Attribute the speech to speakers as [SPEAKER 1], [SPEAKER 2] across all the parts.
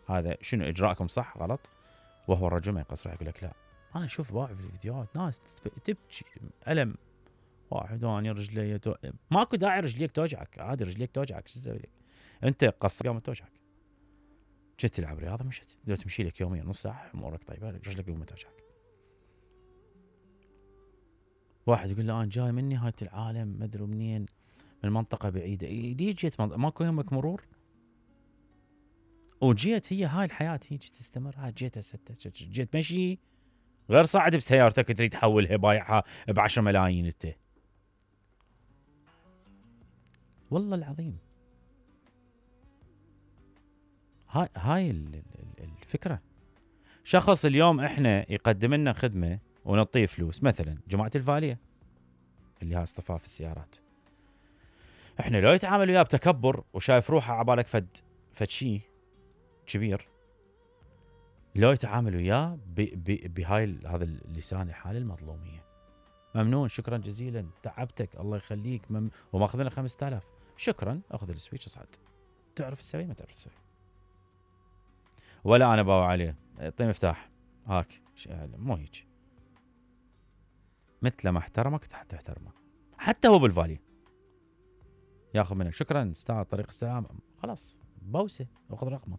[SPEAKER 1] هذا شنو اجراءكم صح غلط؟ وهو الرجل ما يقصر يقول لك لا، انا اشوف واحد في الفيديوهات ناس تبكي الم، واحد اني رجلي ماكو داعي رجليك توجعك، عادي رجليك توجعك شو اسوي لك؟ انت قصر يوم توجعك، كنت تلعب رياضه مشت لو تمشي لك يوميا نص ساعه امورك طيبه، رجلك يوم توجعك. واحد يقول له انا جاي من نهايه العالم ما ادري منين، من منطقه بعيده، ليش جيت ماكو يمك مرور؟ وجيت هي هاي الحياه هيك تستمر، هاي جيت هسه جيت مشي غير صاعد بسيارتك تريد تحولها بايعها ب10 ملايين انت. والله العظيم هاي الفكره. شخص اليوم احنا يقدم لنا خدمه ونعطيه فلوس، مثلا جماعه الفاليه اللي ها اصطفاف السيارات، احنا لو يتعامل وياه بتكبر وشايف روحه عبالك فد شيء كبير، لو يتعامل وياه بهاي هذا اللسان الحالي المظلوميه، ممنون شكرا جزيلا تعبتك الله يخليك وماخذنا 5000 شكرا، اخذ السويتش اصعد، تعرف تسوي ما تعرف تسوي، ولا انا باوع عليه اعطيه مفتاح هاك مو هيك، مثل ما احترمك تحترمه، حتى هو بالفالي ياخذ منك شكرا استاذ طريق السلام، خلاص بوسه اخذ رقمه.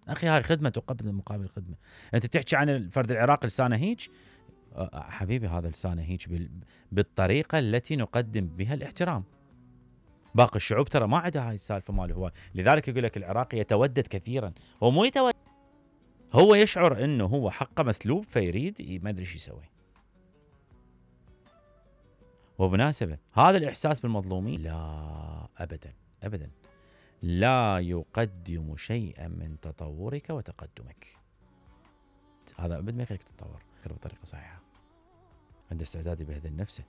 [SPEAKER 1] اخي هاي خدمه تقدم مقابل خدمه. انت تحكي عن الفرد العراقي لسانه هيك، حبيبي هذا لسانه هيك بالطريقه التي نقدم بها الاحترام. باقي الشعوب ترى ما عندها هاي السالفه ماله هو، لذلك يقول لك العراقي يتودد كثيرا، هو مو يتودد، هو يشعر انه هو حقه مسلوب فيريد ما ادري ايش يسوي. وبمناسبه هذا الاحساس بالمظلومين لا ابدا ابدا لا يقدم شيئا من تطورك وتقدمك. هذا ابد ما يخليك تتطور بطريقه صحيحه. عنده استعداد يبهدل نفسه.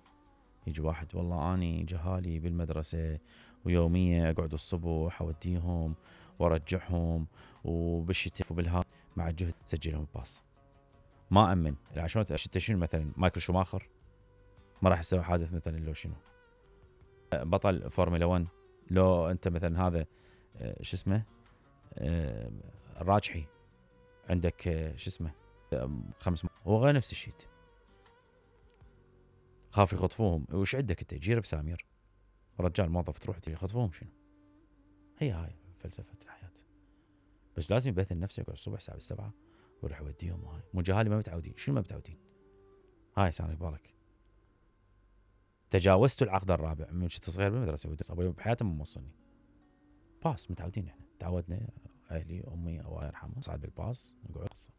[SPEAKER 1] يجي واحد والله اني جهالي بالمدرسه ويوميا اقعد الصبح اوديهم وارجعهم وبالشتاء وبالها مع الجهد سجلهم باص. ما امن عشان شنو مثلا مايكل شوماخر ما راح يسوي حادث مثلا، لو شنو بطل فورمولا 1، لو انت مثلا هذا شو اسمه الراجحي عندك شو اسمه 5 هو غير نفس الشيء، خاف يخطفوهم. وش عندك انت جير بسامير رجال موظف تروح يخطفوهم شنو؟ هاي فلسفه الحياه. بس لازم يبثل نفسه يقعد الصبح الساعه 7 ويروح يوديهم. وهاي مو جهالي ما متعودين. شنو ما متعودين؟ هاي سامي بالك تجاوزت العقد الرابع من كنت صغير بالمدرسه، ابوي بحياته ما موصلني باص. متعودين احنا تعودنا اهلي امي الله يرحمها صعد بالباص نقعد قصه.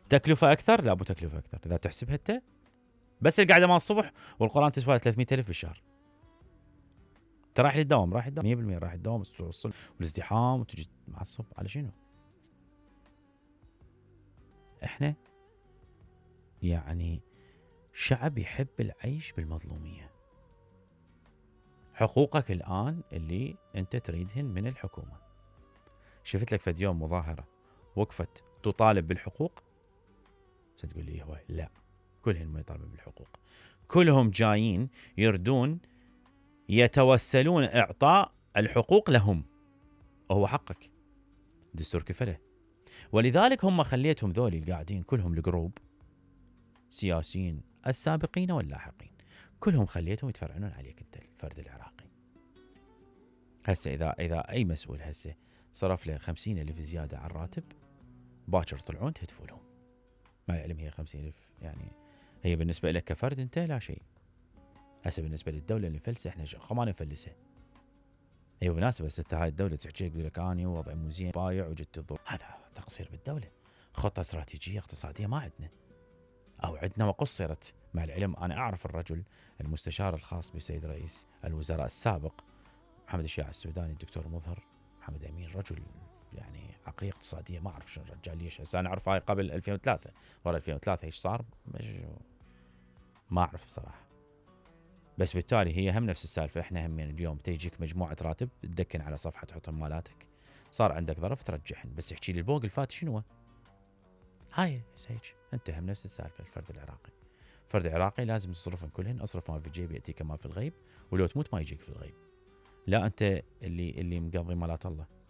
[SPEAKER 1] تكلفه اكثر؟ لا ابو تكلفه اكثر اذا تحسبها انت، بس القعده مال الصبح والقران تسوى 300,000 بالشهر. انت رايح للدوام 100% رايح الدوام توصل والازدحام وتجي معصب على شنو؟ احنا يعني شعب يحب العيش بالمظلوميه. حقوقك الان اللي انت تريدهن من الحكومه. شفت لك فد يوم مظاهره وقفت تطالب بالحقوق؟ ستقول لي هو لا، كلهم ما يطالبون بالحقوق، كلهم جايين يردون يتوسلون اعطاء الحقوق لهم، وهو حقك دستور كفله. ولذلك هم خليتهم ذولي القاعدين كلهم الجروب سياسيين السابقين واللاحقين كلهم خليتهم يتفرعنون عليك انت الفرد العراقي. هسه اذا اي مسؤول هسه صرف له 50,000 زياده على الراتب، باكر طلعون تهتفوا لهم. مع العلم هي 50,000 يعني هي بالنسبه لك كفرد انت لا شيء. هسه بالنسبه للدوله اللي مفلسه احنا ما نفلسها. هي بالمناسبه ست هاي الدوله تحكي تقول لك اني وضعي مو زين بايع وجدت الظروف، هذا تقصير بالدوله. خطه استراتيجيه اقتصاديه ما عندنا، او عندنا وقصرت. مع العلم انا اعرف الرجل المستشار الخاص بسيد رئيس الوزراء السابق محمد الشيع السوداني الدكتور مظهر محمد امين، رجل يعني عقليه اقتصاديه ما اعرف شنو الرجال ليش. هسه انا اعرف هاي قبل 2003 ورا 2003 ايش صار ما اعرف بصراحه. بس بالتالي هي هم نفس السالفه. احنا هم اليوم تيجيك مجموعه راتب تدكن على صفحه تحط مالاتك، صار عندك ظرف ترجعهن، بس احكي لي البوق الفات شنو هاي هيك. انت هم نفس السالفه. الفرد العراقي فرد عراقي لازم تصرفن كلهن، اصرف ما في الجيب ياتيك ما في الغيب، ولو تموت ما يجيك في الغيب. لا انت اللي مقضي مالات الله.